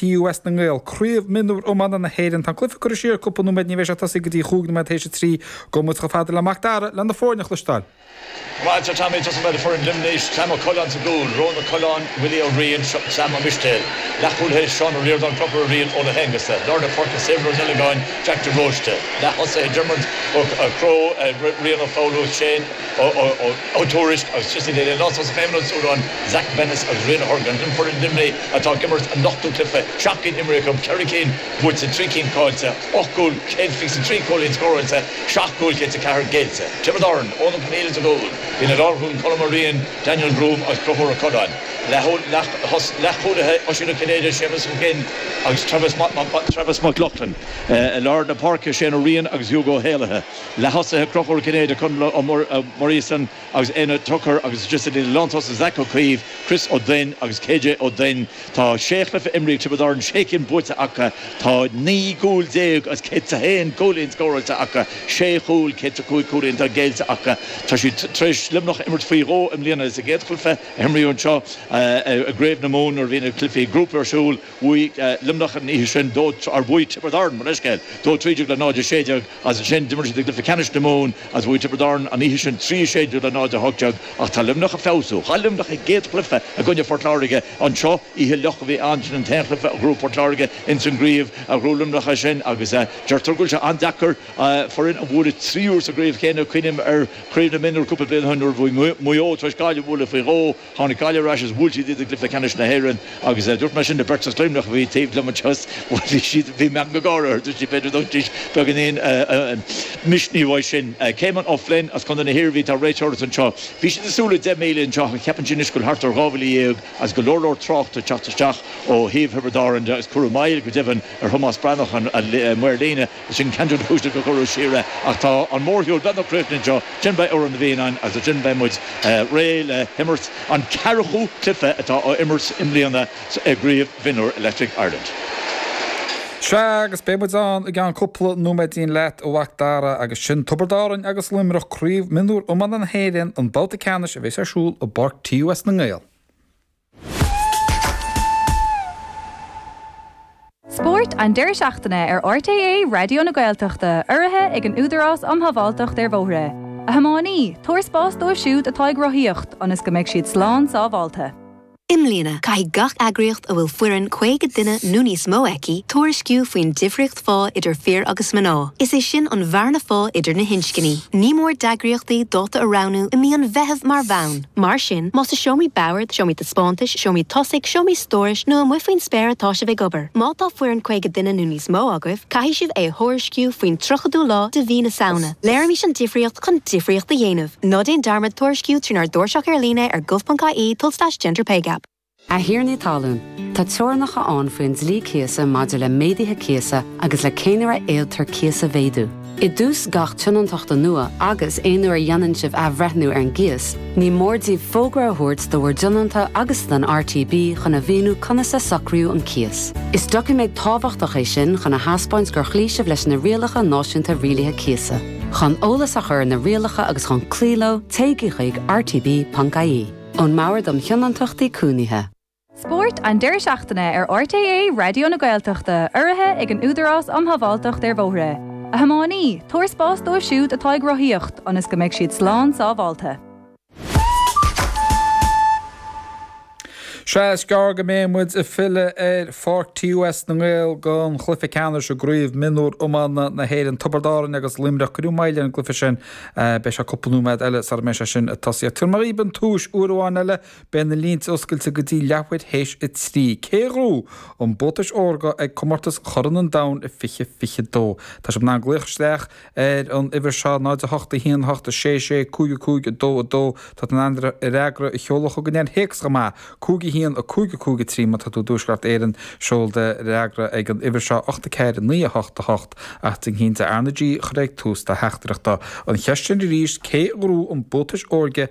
TUS na nGael, Craobh Mionúr Iomána na hÉireann. Tá an cluiche curtha siar cúpla nóiméad, ní bheidh sé ag tosaí go dtí chúig nóiméad théis a 3. Gabhfaidh muid chomh fada le Mac Dara le na foirne a chloisteáil. Maith agat a Tommy, tosóidh muid le foireann Luimnigh, Sam Ó Coileáin sa gcúl, Rónán Ó Coileáin, Willie Ó Riain, Sam Ó Mistéil, Leathchúlaithe, Seán Ó Ríordáin, Conchúr Ó Riain, Eoin Ó hAonghusa, Lár na páirce, Saebhir Ó Duileagáin, Jack de Róiste, Leath-thosaithe, Dermot Ó Crowe, Rian Ó Foghlú, Shane Ó Tuairisg agus Tristan Daly, Lántosach, Éamonn Ó Súilleabháin, Zach Bennis agus Rian Ó hOrgáin. Sin foireann Luimnigh atá ag imirt a n-ochtú cluiche, 7 gcinn imrithe acu, 4 cinn buaite, 3 cinn caillte, 8 gcúl, 123 cúilín scóráilte, 7 gcúl, 104 géillte. Tiobraid Árann, Eoin Ó Conghaile sa gcúl, Bíonn an lánchúl Colm Ó Riain, Daniel Groome agus Conchúr Ó Coileáin. Leathchúlaithe, Oisín Ó Cinnéide, Séamus Mac Fhinn agus Travis Mac Lochlainn. I lár na páirce, Shane Ó Riain agus Hugo Ó hÉallaithe. Leath-thosaithe, Conchúr Ó Cinnéide, Conall Ó Muiríosa agus Éanna Tucker agus istigh sa lántosaigh Zach Ó Caoimh, Chris Ó Duinn agus KJ Ó Duinn. Tá sé chluiche imrithe ag Tiobraid Árann, sé cinn buaite acu. Tá 19 gcúl as 101 cúilín scóráilte acu, sé chúl, 105 cúilín atá géillte acu. Tá siad tar éis Luimneach a imirt faoi dhó i mbliana. Sa gcéad chluiche a himríodh anseo i gCraobh na Mumhan nuair a bhí na cluichí grúpa ar siúl, bhuaigh Luimneach an oíche sin, or bhuaigh Tiobraid Árann, mo leithscéal, 2-13 le 0-16. Agus ansin d'imir siad i gcluiche ceannais na Mumhan agus bhuaigh Tiobraid Árann an oíche sin 3-16 le 0-18 ach tá Luimneach ag feabhsú. Chaill Luimneach a gcéad chluiche i gcoinne Phort Láirge anseo, oíche fhliuch a bhí ann, sin an t-aon chluiche a ghnóthaigh Port Láirge ins an gcraobh a ghnóthaigh Luimneach é sin agus deirtear go bhfuil sé an-deacair foireann a bhualadh trí huaire sa gcraobh chéanna. Cuimhním ar Chraobh na Mionúr cúpla bliain ó shin nuair a bhí Maigh Eo tar éis Gaillimh a bhualadh faoi dhó. Tháinig Gaillimh ar ais is bhuail siad iad i gcluiche ceannais na hÉireann agus dúirt mé sin le beirt as Luimneach a bhí taobh liom anseo is bhí siad, bhí meangadh gáire orthu, dúirt siad b'fhéidir go dtógfaidís beagáinín misnigh uaidh sin. Caimin O'Flynn as Contae na hIarmhí atá ag réiteoireacht anseo. Bhí siad ag súil le 10,000 anseo ach ceapann siad anois go bhfuil thart ar 12,000 agus go leor leor tráchta ag teacht isteach ó thaobh Thiobraid Árann de agus cuireadh moill go deimhin ar Thomás Breathnach an maor líne. Sin ceann de na cúiseanna gur cuireadh siar é. Ach tá an mórshiúl beagnach críochnaithe anseo. Ansin beidh Amhrán na bhFiann agus ansin beidh muid réidh le himirt an ceathracha cluiche atá á imirt i mbliana i gCraobh Mhionúr Electric Ireland. Sea, agus beidh muid ann i gceann cúpla nóiméidín leat, a Mhac Dara, agus sin Tiobraid Árann agus Luimneach, Craobh Mionúr Iomána na hÉireann, an babhta ceannais a bheas ar siúl i bPáirc TUS na nGael. Spórt an deireadh seachtaine ar RTÉ Raidió na Gaeltachta, urraithe ag an Údarás um Shábháilteacht ar Bhóithre. A thiománaí, tabhair spás dóibh siúd atá ag rothaíocht, ionas go mbeidh siad slán sábháilte. I mbliana, caithfidh gach eagraíocht a bhfuil foireann 50 duine nó níos mó aici tuairisciú faoin difríocht phá idir fir agus mná, is é sin an bhearna phá idir na hinscní. Ní mór d'eagraíochtaí dáta a roghnú i mí an Mheithimh mar bhonn. Mar sin, más i seomraí boird, seomraí taispeántais, seomraí tosaigh, seomraí stórais nó amuigh faoin spéir atá sibh ag obair, má tá foireann 50 duine nó níos mó agaibh, caithfidh sibh é a thuairisciú faoin 30ú lá de mhí na Samhna. Léirímis an difríocht chun difríocht a dhéanamh. Ná déan dearmad tuairisciú trínár dtairseach ar líne ar gov.ie tulslais genderpaygap. A thiarnaí talún, tá teorainneacha ann faoin dlí cíosa maidir le méaduithe cíosa agus le cén uair a fhéadtar cíos a mhéadú. I dtús gach tionóntachta nua agus aon uair a dhéanann sibh athbhreithniú ar an gcíos, ní mór daoibh fógra a thabhairt do bhur dtionónta agus don RTB chun a mhíniú conas a socraíodh an cíos. Is doiciméad tábhachtach é sin chun a thaispeáint gur chloígh sibh leis na rialacha náisiúnta rialaithe cíosa. Chun eolas a chur ar na rialacha agus chun cloí leo, téigí chuig rtb.ie. Ón mBord um Thionóntachtaí Cónaithe. Spórt an deireadh seachtaine ar RTÉ Raidió na Gaeltachta, urraithe ag an Údarás um Shábháilteacht ar Bhóithre. A thiománaí, tabhair spás dóibh siúd atá ag rothaíocht, ionas go mbeidh siad slán sábháilte. Sea, is gearr go mbeidh muid ag filleadh ar Pháirc TUS na nGael don chluiche ceannais i gCraobh Mionúr Iomána na hÉireann, Tiobraid Árann agus Luimneach. Cuireadh moill ar an gcluiche sin. Beidh sé cúpla nóiméad eile sara mbeidh sé sin ag tosaí. Ach tabharfaidh mé dhaoibh an tomhas uair amháin eile, beidh na línte oscailte go dtí leathuair théis a 3. Cé a ghnóthóidh an Buatais Órga ag Comórtas Chorn an Domhain i 2022? Tá sibh in ann glaoch isteach ar an uimhir seo, 0 8 1 8 6 6 5 5 2 2. Tá tú in ann d'fhreagra a sheoladh chugainn ar théacs chomh maith, 5 1 5 5 3 Má tá tú i dTuaisceart Éireann, seol do fhreagra ag an uimhir seo, 8 4 9 8 8 Ach déan cinnte R na G a chur ag tús do theachtaireachta. An cheist sin arís, cé a ghnóthóidh an Buatais Órga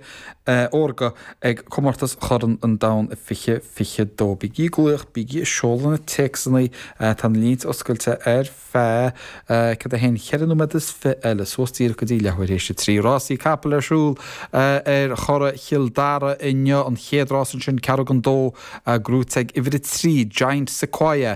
Órga ag Comórtas Chorn an Domhain 2022? Bígí ag glaoch, bígí ag seoladh na téacsanna, tá na línte oscailte ar feadh céard é féin, cheithre nóiméad is fi eile, suas díreach go dtí leathuair théis a 3. Rásaí capall ar siúl ar Churrach Chill Dara inniu, an chéad rás ansin, ceathrú don dó, gnóite ag uimhir a 3, Giant Sequoia.